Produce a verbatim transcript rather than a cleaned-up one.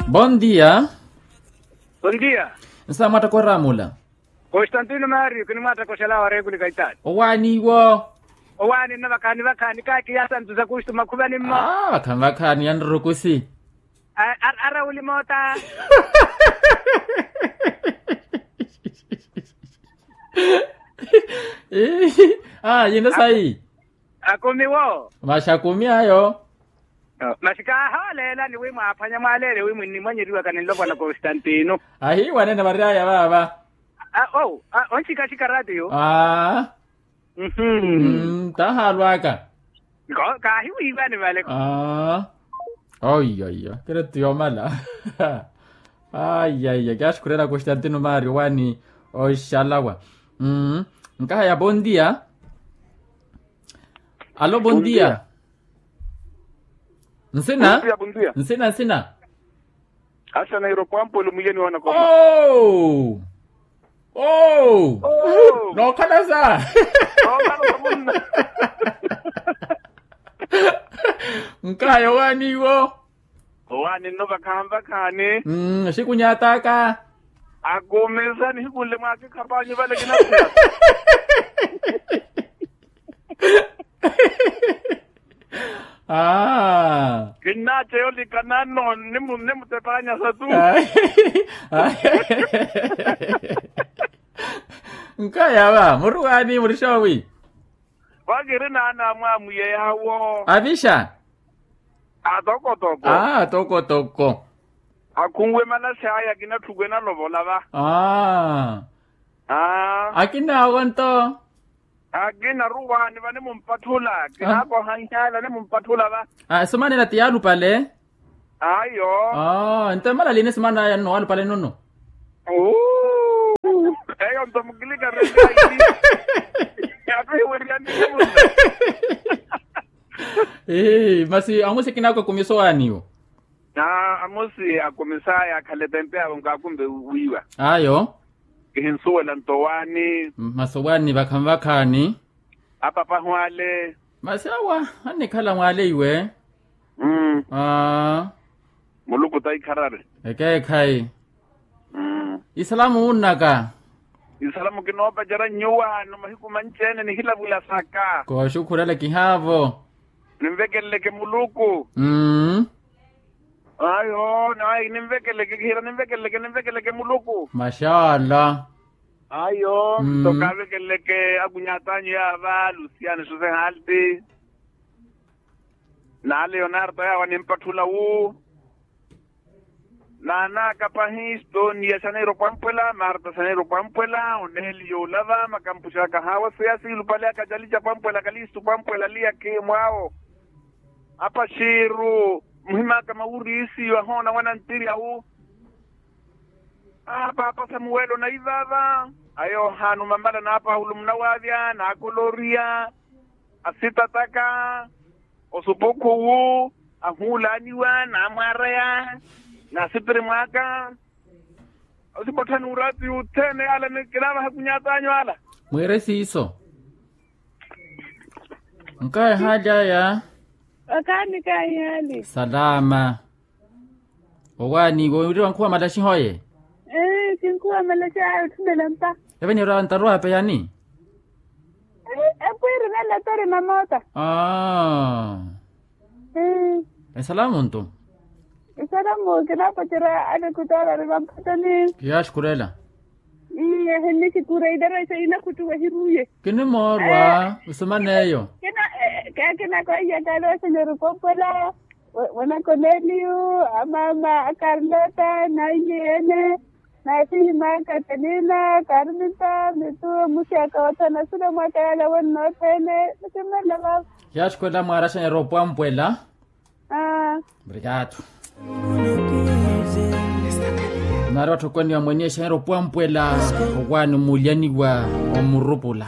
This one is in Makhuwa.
Bondia. Bondia. Nsa mwattakora mula. Konstantino mario kinimwattakosela warekuli kaitali. Owaani iwo. Owaani nna vakhaani vakhaani kakiya santu za kustu makhuvani mmo. Vakhaani vakhaani yanrukusi. Ara uli moota. Yinno sayi. Akumi wo. Masi akumi ayo. Masi kaahooleelani wi mwaaphwanya mwaaleele wi mwinnimwanyeriwaka ni nlopwana konstantino. Ahiiwanene vary'aya vaava. Onxikaxika ratio. Aa. Taahaalwaka. Kaahiwiiwani vale. Aa. Oiyoiyo kiretti yoomala. Aiyaiya kyaxukhurela konstantino mario waani. Oxalawa. Nkahaya bondia. Alo bondia. Nsina. Nsina nsina. Axa nairo pwampwelo mwiyeni wana koma. Ow. Ow. Nookhalasa. Nkaya owaani iwo. Owaani nno vakhaani vakhaani. Xikunyaataka. Akumisani hikunle mwaakikhapanyu vale kinasia. Aa. Kinnaaceya olikana nno nimutepanyasa tu. Nkaya va muri waani muri xoowi. Vakiri naana amwamwiye yawo. Avixa. Atokotoko. Atokotoko. Akhunwe manase aya akina tthukwe nalovola va. Akina awo nto. Akina ruwaani va nimumpatthula kinakohanhyala nimumpatthula va. Sumanela ti yaalupale. Ayo. Nto emala lini sumanaya nno waalupale nnono. Eyo nto mukilika rekaili. Atuhiwerya nini munna. Masi amusi kinaako akumiso waaniwo. Amusi akumisaya akhale tempe awo nkaakumbe wiiwa. Ayo. Kihinsuwela nto waani. Masi owaani vakhaani vakhaani. Apapahu ale. Masi awa annikhala mwaale iwe. Muluku taikharari. Ekeekhayi. Isalamu wunnaka. Isalamu kinoopacerya nyuwaano mahiku manci-ene nihilavulasaka. Kooxukhurela kihaavo. Ninvekeleleke muluku. Ayo nayi ninvekeleke kihira ninvekeleke ninvekeleke muluku. Maxala. Ayo nto kaavekeleke akunyaatanyu yaava lusiani suse halti. Na leonarto yaava nimpatthula wu. Naanaka pahi stonia xaneiro pwampwela marta xaneiro pwampwela oneliyo olava makampuxaka haawa seya siilupale akacalica pwampwela kalistu pwampwela liya khimwaawo. Apaxiru muhimaka mawuriisiyo ahoona wanantiryawu. Apaapa samuwelo naivava ayohanu mamala na paulo munawavya na koloriya asitataka. Osupukhuwu ahuulaaniwa naamwaaraya naasipiri mwaaka. Osipotthani uraati othene ala kinaavaha kunyaatanyu ala. Mwiire siiso. Nkaya haali aya. Okaani kayi haali. Salama. Owaani iwe wiri wankhuwa malaxi hoye. Kinkhuwa malaxi aya otthumela mpa. Eve niira ntaru ape yani. Epwiiri nalatori na moota. Esalamu nto. Esalamu kinapacerya alekutaalari vampatani. Kiyaaxukhurela. Ehinnixikhura idarexa inakhuttuwa ehiruye. Kinimoorwa. Osumaneyo. Kinakoiya kale osenyori koopwela. Wena koneliyu, amaama akarlota nainyeene, naxihi makatalina karmita mitu muxaka wathana sula mwaka yala wennothene. Nikimmela vava. Yaaxukhwela mwaaraxanyerya opwampwela. Mrikatu. Naari watthokoniwa mweniyexanyerya opwampwela. Owaani omulyaniwa omurupula.